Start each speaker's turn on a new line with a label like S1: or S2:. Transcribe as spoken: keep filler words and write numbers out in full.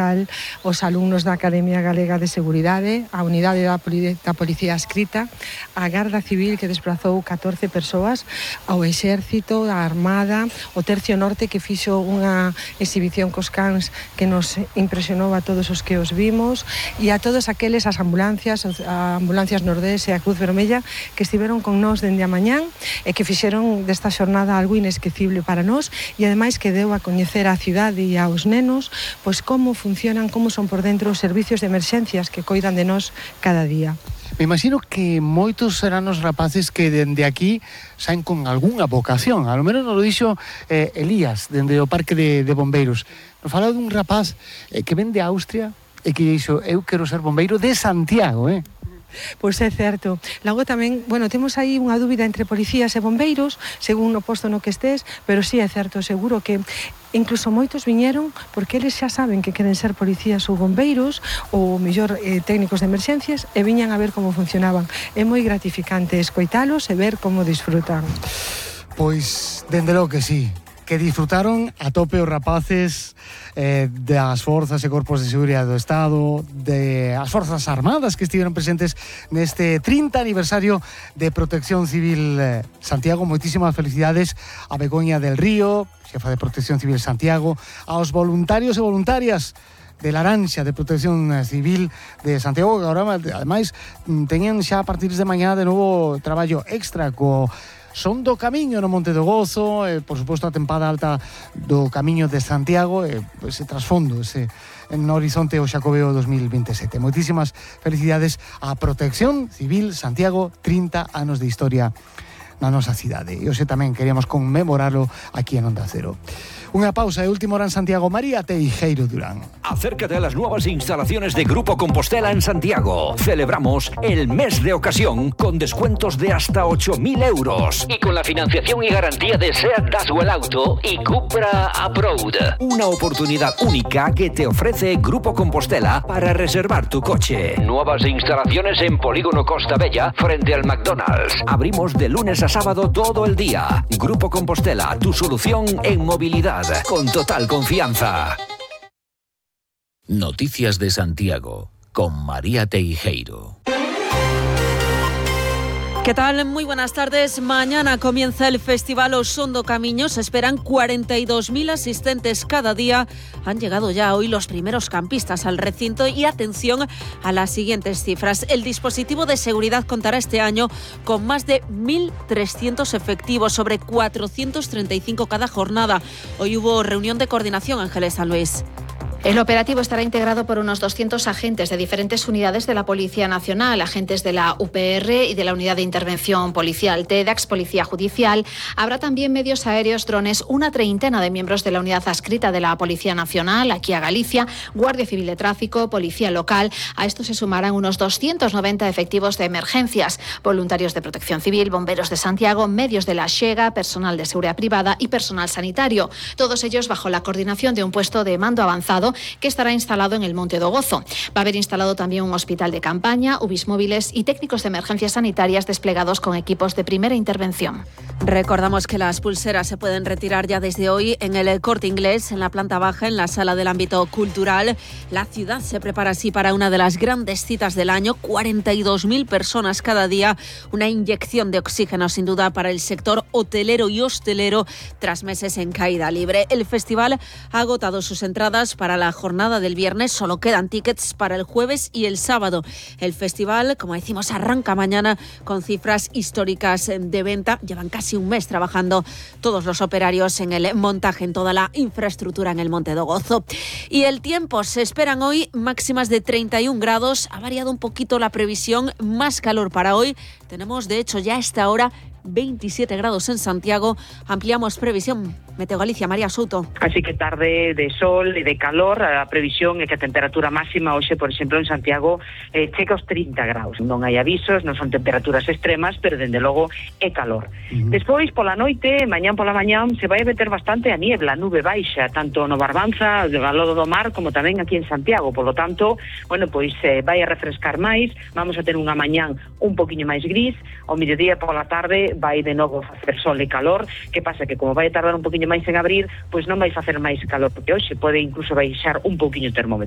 S1: local, os alumnos da Academia Galega de Seguridade, a unidade da, Poli- da Policía Adscrita, a Garda Civil que desplazou catorce persoas, ao Exército, a Armada, o Tercio Norte que fixo unha exhibición cos cans que nos impresionou a todos os que os vimos, e a todos aqueles, as ambulancias, a Ambulancias Nordés e a Cruz Vermella que estiveron con nós dende a mañán e que fixeron desta xornada algo inesquecible para nós, e ademais que deu a coñecer a cidade e aos nenos pois como funcionan, como son por dentro os servicios de emerxencias que coidan de nós cada día.
S2: Me imagino que moitos serán os rapaces que dende aquí saen con algunha vocación. A lo menos nos lo dixo eh, Elías, dende o Parque de, de Bombeiros. Nos fala dun rapaz eh, que ven de Austria e que dixo, eu quero ser bombeiro de Santiago, eh?
S1: Pois é certo. Logo tamén, bueno, temos aí unha dúbida entre policías e bombeiros, según o posto no que estés, pero sí é certo, seguro que incluso moitos viñeron porque eles xa saben que queren ser policías ou bombeiros ou mellor eh, técnicos de emerxencias e viñan a ver como funcionaban. É moi gratificante escoitalos e ver como disfrutan.
S2: Pois, dende logo que sí, que disfrutaron a tope os rapaces eh, das forzas e corpos de seguridade do Estado, de as forzas armadas que estiveron presentes neste trinta aniversario de Protección Civil eh, Santiago. Moitísimas felicidades a Begoña del Río, xefa de Protección Civil Santiago, aos voluntarios e voluntarias de Laranxa de Protección Civil de Santiago, que agora, ademais, teñen xa a partir de mañá de novo traballo extra co Son do Camiño no Monte do Gozo, e, por suposto, a tempada alta do Camiño de Santiago, e ese trasfondo, ese no horizonte o Xacobeo dos mil veintisiete. Moitísimas felicidades á Protección Civil Santiago, trinta anos de historia na nosa cidade. E hoxe tamén queríamos conmemorarlo aquí en Onda Cero. Una pausa, de última hora en Santiago. María Teijeiro Durán.
S3: Acércate a las nuevas instalaciones de Grupo Compostela en Santiago. Celebramos el mes de ocasión con descuentos de hasta ocho mil euros. Y con la financiación y garantía de SEAT Daswell Auto y Cupra Approved. Una oportunidad única que te ofrece Grupo Compostela para reservar tu coche. Nuevas instalaciones en Polígono Costa Bella frente al McDonald's. Abrimos de lunes a sábado todo el día. Grupo Compostela, tu solución en movilidad. Con total confianza.
S4: Noticias de Santiago con María Teijeiro.
S5: ¿Qué tal? Muy buenas tardes. Mañana comienza el Festival O Son do Camiño. Se esperan cuarenta y dos mil asistentes cada día. Han llegado ya hoy los primeros campistas al recinto y atención a las siguientes cifras. El dispositivo de seguridad contará este año con más de mil trescientos efectivos, sobre cuatrocientos treinta y cinco cada jornada. Hoy hubo reunión de coordinación, Ángeles San Luis.
S6: El operativo estará integrado por unos doscientos agentes de diferentes unidades de la Policía Nacional, agentes de la U P R y de la Unidad de Intervención Policial TEDAX, Policía Judicial. Habrá también medios aéreos, drones, una treintena de miembros de la Unidad Adscrita de la Policía Nacional, aquí a Galicia, Guardia Civil de Tráfico, Policía Local. A esto se sumarán unos doscientos noventa efectivos de emergencias, voluntarios de Protección Civil, bomberos de Santiago, medios de la Xega, personal de seguridad privada y personal sanitario. Todos ellos bajo la coordinación de un puesto de mando avanzado que estará instalado en el Monte do Gozo. Va a haber instalado también un hospital de campaña, U B I S móviles y técnicos de emergencias sanitarias desplegados con equipos de primera intervención.
S5: Recordamos que las pulseras se pueden retirar ya desde hoy en el Corte Inglés, en la planta baja, en la sala del ámbito cultural. La ciudad se prepara así para una de las grandes citas del año, cuarenta y dos mil personas cada día, una inyección de oxígeno sin duda para el sector hotelero y hostelero tras meses en caída libre. El festival ha agotado sus entradas para la jornada del viernes, solo quedan tickets para el jueves y el sábado. El festival, como decimos, arranca mañana con cifras históricas de venta. Llevan casi un mes trabajando todos los operarios en el montaje, en toda la infraestructura en el Monte do Gozo. Y el tiempo, se esperan hoy máximas de treinta y un grados. Ha variado un poquito la previsión, más calor para hoy. Tenemos, de hecho, ya a esta hora veintisiete grados en Santiago. Ampliamos previsión. Meteo Galicia, María Souto.
S7: Así que tarde de sol e de calor. A previsión é que a temperatura máxima hoxe, por exemplo, en Santiago eh, chega aos trinta graus. Non hai avisos, non son temperaturas extremas, pero dende logo é calor. Uh-huh. Despois, pola noite, mañán pola mañán, se vai a meter bastante a niebla, nube baixa, tanto no Barbanza, ao lado do mar, como tamén aquí en Santiago. Por lo tanto, bueno, pois eh, vai a refrescar máis, vamos a ter unha mañán un poquinho máis gris, ao mediodía pola tarde vai de novo facer sol e calor. Que pasa? Que como vai a tardar un poquinho máis en abrir, pois non vai facer máis calor, porque hoxe pode incluso baixar un pouquiño o termómetro.